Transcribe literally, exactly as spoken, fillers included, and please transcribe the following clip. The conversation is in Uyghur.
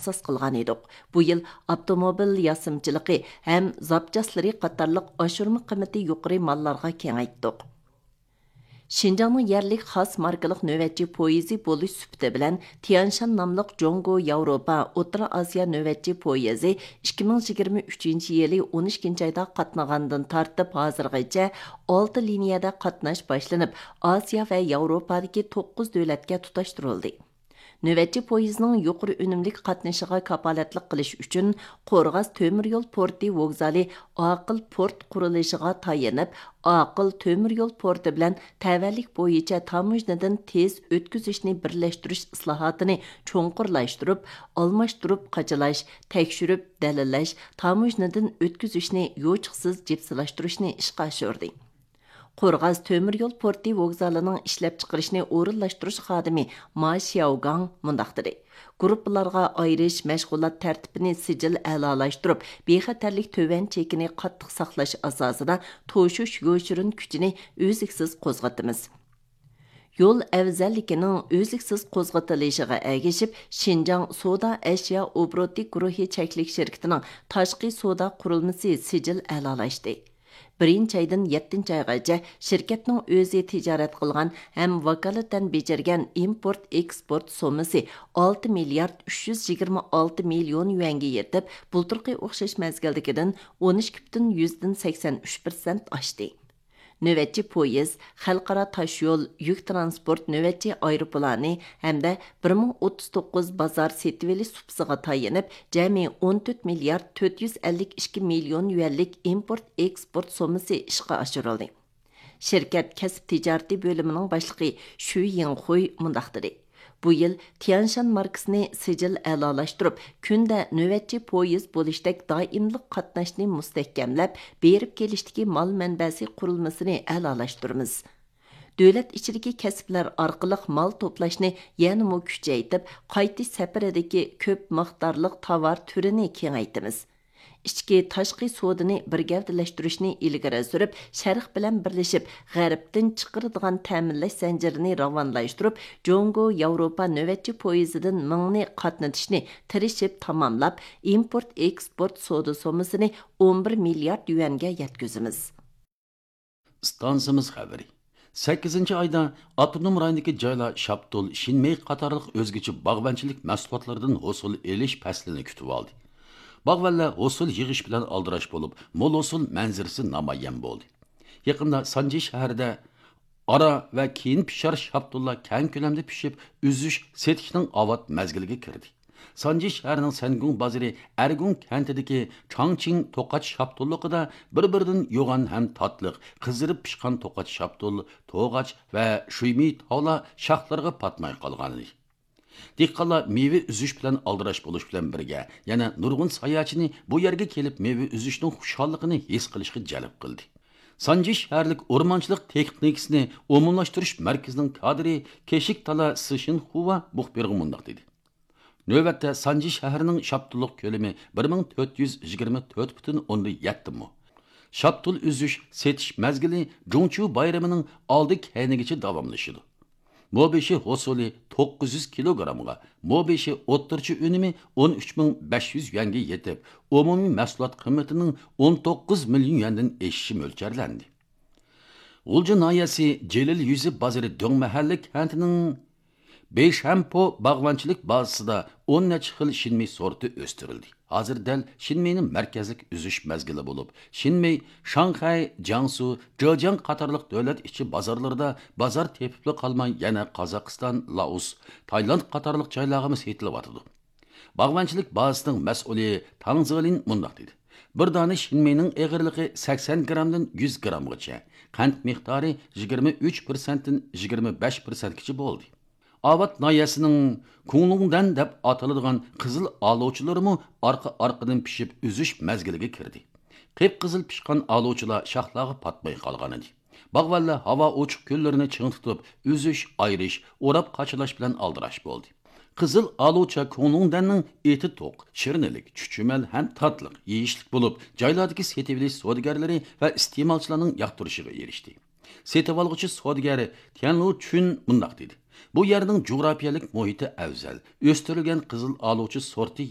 ئاساس قىلغان ئىدۇق. بۇ يىل ئاپتوموبىل ياسىمىچىلىقى ھەم زاپچاسلىرى قاتارلىق ئاشۇرما قىممىتى يۇقىرى ماللارغا كېڭەيتتۇق. شىنجاڭنىڭ يەرلىك خاس ماركىلىق نۆۋەتچى پويىزى بولۇش سۈپىتى بىلەن، تيانشان ناملىق جۇڭگو ياۋروپا ئوتتۇرا ئاسىيا نۆۋەتچى پويىزى ئىككى مىڭ يىگىرمە ئۈچىنچى يىلى ئون ئىككىنچى ئايدا قاتنىغاندىن تارتىپ ھازىرغىچە ئالتە لىنىيەدە قاتناش باشلىنىپ، ئاسىيا ۋە ياۋروپادىكى توققۇز دۆلەتكە تۇتاشتۇرۇلدى. نۆۋەتچى پويىزنىڭ يۇقىرى ئۈنۈملۈك قاتنىشىغا كاپالەتلىك قىلىش ئۈچۈن، قورغاس تۆمۈر يول پورتى ۋوگزالى ئاقىل پورت قۇرۇلۇشىغا تايىنىپ، ئاقىل تۆمۈر يول پورتى بىلەن تەۋەلىك بويىچە تاموژنىدىن تېز ئۆتكۈزۈشنى بىرلەشتۈرۈش ئىسلاھاتىنى چوڭقۇرلاشتۇرۇپ، ئالماشتۇرۇپ قاچىلاش، تەكشۈرۈپ دەلىللەش، تاموژنىدىن ئۆتكۈزۈشنى يوچۇقسىز جىپسىلاشتۇرۇشنى ئىشقا ئاشۇردى. قورغاس تۆمۈر يول پورتى ۋوگزالىنىڭ ئىشلەپچىقىرىشنى ئورۇنلاشتۇرۇش خادىمى ما شياۋگاڭ مۇنداق دېدى: گۇرۇپپىلارغا ئايرىش، مەشغۇلات تەرتىپىنى سىجىل ئەلالاشتۇرۇپ، بىخەتەرلىك تۆۋەن چېكىنى قاتتىق ساقلاش ئاساسىدا توشۇش يوشۇرۇن كۈچىنى ئۈزلۈكسىز قوزغىتىمىز. يول ئەۋزەللىكىنىڭ ئۈزلۈكسىز قوزغىتىلىشىغا ئەگىشىپ، شىنجاڭ سودا ئەشيا ئوبوروتى گۇرۇھى چەكلىك شىركىتىنىڭ تاشقى سودا قۇرۇلمىسى سىجىل ئەلالاشتى. بىرىنچى ئايدىن يەتتىنچى ئايغىچە شىركەتنىڭ ئۆزى تىجارەت قىلغان ھەم ۋاكالىتەن بېجىرگەن ئىمپورت ئېكسپورت سوممىسى ئالتە مىليارد ئۈچ يۈز يىگىرمە ئالتە مىليون يۈەنگە يېتىپ، بۇلتۇرقى ئوخشاش مەزگىلدىكىدىن ئون ئىككى پۈتۈن يۈزدىن سەكسەن ئۈچ پىرسەنت ئاشتى. نۆۋەتچى پويىز، خەلقئارا تاشيول، يۈك تىرانسپورت نۆۋەتچى ئايروپىلانى ھەمدە بىر مىڭ ئوتتۇز توققۇز بازار سېتىۋېلىش سۇپىسىغا تايىنىپ، جەمئىي ئون تۆت مىليارد تۆت يۈز ئەللىك ئىككى مىليون يۈەنلىك ئىمپورت ئېكسپورت سوممىسى ئىشقا ئاشۇرۇلدى. شىركەت كەسىپ تىجارىتى بۆلۈمىنىڭ باشلىقى شۈ يىڭخۇي مۇنداق دېدى: بۇ يىل تيانشان ماركىسىنى سىجىل ئەلالاشتۇرۇپ، كۈندە نۆۋەتچى پويىز بولۇشتەك دائىملىق قاتناشنى مۇستەھكەملەپ، بېرىپ كېلىشتىكى مال مەنبەسى قۇرۇلمىسىنى ئەلالاشتۇرىمىز. دۆلەت ئىچىدىكى كەسىپلەر ئارقىلىق مال توپلاشنى يەنىمۇ كۈچەيتىپ، قايتىش سەپىرىدىكى كۆپ مىقدارلىق تاۋار تۈرىنى كېڭەيتىمىز. ئىچكى، تاشقى سودىنى بىر گەۋدىلەشتۈرۈشنى ئىلگىرى سۈرۈپ، شەرق بىلەن بىرلىشىپ، غەربتىن چىقىرىدىغان تەمىنلەش زەنجىرىنى راۋانلاشتۇرۇپ، جۇڭگو ياۋروپا نۆۋەتچى پويىزىدىن مىڭنى قاتنىتىشنى تىرىشىپ تاماملاپ، ئىمپورت ئېكسپورت سودا سوممىسىنى ئون بىر مىليارد يۈەنگە يەتكۈزىمىز. ئىستانسىمىز خەۋىرى. سەككىزىنچى ئايدا ئاپتونوم رايوندىكى جايلار شاپتۇل، شىنمېي قاتارلىق ئۆزگىچە باغۋەنچىلىك مەھسۇلاتلىرىدىن ھوسۇل ئېلىش پەسلىنى كۈتۈۋالدى. باغۋەنلەر ھوسۇل يىغىش بىلەن ئالدىراش بولۇپ، مول ھوسۇل مەنزىرىسى نامايان بولدى. يېقىندا سانجى شەھىرىدە ئارا ۋە كېيىن پىشار شاپتۇللار كەڭ كۆلەمدە پىشىپ، ئۈزۈش، سېتىشنىڭ ئاۋات مەزگىلىگە كىردى. سانجى شەھىرىنىڭ سەنگۇڭ بازىرى ئەرگۇڭ كەنتىدىكى چاڭچىڭ توقاچ شاپتۇللۇقىدا بىر-بىرىدىن يوغان ھەم تاتلىق قىزىرىپ پىشقان توقاچ شاپتۇل، توغاچ ۋە شۇيمىي تاۋلار شاخلىرىغا پاتماي قالغانىدى. دېھقانلار مېۋە ئۈزۈش بىلەن ئالدىراش بولۇش بىلەن بىرگە، يەنە نۇرغۇن ساياھەتچىنى بۇ يەرگە كېلىپ مېۋە ئۈزۈشنىڭ خۇشاللىقىنى ھېس قىلىشقا جەلپ قىلدى. سانجى شەھەرلىك ئورمانچىلىق تېخنىكىسىنى ئومۇملاشتۇرۇش مەركىزىنىڭ كادىرى كېشىك تالا سىشىنخۇۋا مۇخبىرغا مۇنداق دېدى: نۆۋەتتە سانجى شەھىرىنىڭ شاپتۇللۇق كۆلىمى بىر مىڭ تۆت يۈز يىگىرمە تۆت پۈتۈن ئوندىن يەتتە مو. شاپتۇل ئۈزۈش، سېتىش مەزگىلى جۇڭچيۇ بايرىمىنىڭ ئالدى كەينىگىچە داۋاملىشىدۇ. مو بېشى ھوسۇلى توققۇز يۈز كىلوگرامغا، مو بېشى ئوتتۇرىچە ئۈنۈمى ئون ئۈچ مىڭ بەش يۈز يۈەنگە يېتىپ، ئومۇمىي مەھسۇلات قىممىتىنىڭ ئون توققۇز مىليون يۈەندىن ئېشىشى مۆلچەرلەندى. غۇلجا ناھىيەسى جېلىل يۈزى بازىرى دۆڭ مەھەللە كەنتىنىڭ بېيشەنپو باغۋەنچىلىك بازىسىدا ئون نەچچە خىل شىنمېي سورتى ئۆستۈرۈلدى. ھازىر دەل شىنمېينىڭ مەركەزلىك ئۈزۈش مەزگىلى بولۇپ، شىنمېي شاڭخەي، جياڭسۇ، جېجياڭ قاتارلىق دۆلەت ئىچى بازارلىرىدا بازار تېپىپلا قالماي، يەنە قازاقىستان، لائوس، تايلاند قاتارلىق جايلارغىمۇ سېتىلىۋاتىدۇ. باغۋەنچىلىك بازىسىنىڭ مەسئۇلى تاڭ زېلىن مۇنداق دېدى: بىر دانە شىنمېينىڭ ئېغىرلىقى سەكسەن گرامدىن يۈز گرامغىچە، قەنت مىقدارى يىگىرمە ئۈچ پىرسەنتتىن يىگىرمە بەش پىرسەنتكىچە بولدى. ئاۋات ناھىيەسىنىڭ كۇڭلۇڭدەن دەپ ئاتىلىدىغان قىزىل ئالۇچىلىرىمۇ ئارقا-ئارقىدىن پىشىپ ئۈزۈش مەزگىلىگە كىردى. قىپقىزىل پىشقان ئالۇچىلار شاخلارغا پاتماي قالغانىدى. باغۋەنلەر ھاۋا ئوچۇق كۈنلىرىنى چىڭ تۇتۇپ، ئۈزۈش، ئايرىش، ئوراپ قاچىلاش بىلەن ئالدىراش بولدى. قىزىل ئالۇچا كۇڭلۇڭدەننىڭ ئېتى توق، شىرنىلىك، چۈچۈمەل ھەم تاتلىق، يېيىشلىك بولۇپ، جايلاردىكى سېتىۋېلىش سودىگەرلىرى ۋە ئىستېمالچىلارنىڭ ياقتۇرۇشىغا ئېرىشتى. سېتىۋالغۇچى سودىگەر تيەنلۇ چۈن مۇنداق دېدى: بۇ يەرنىڭ جۇغراپىيەلىك مۇھىتى ئەۋزەل، ئۆستۈرۈلگەن قىزىل ئالۇچا سورتى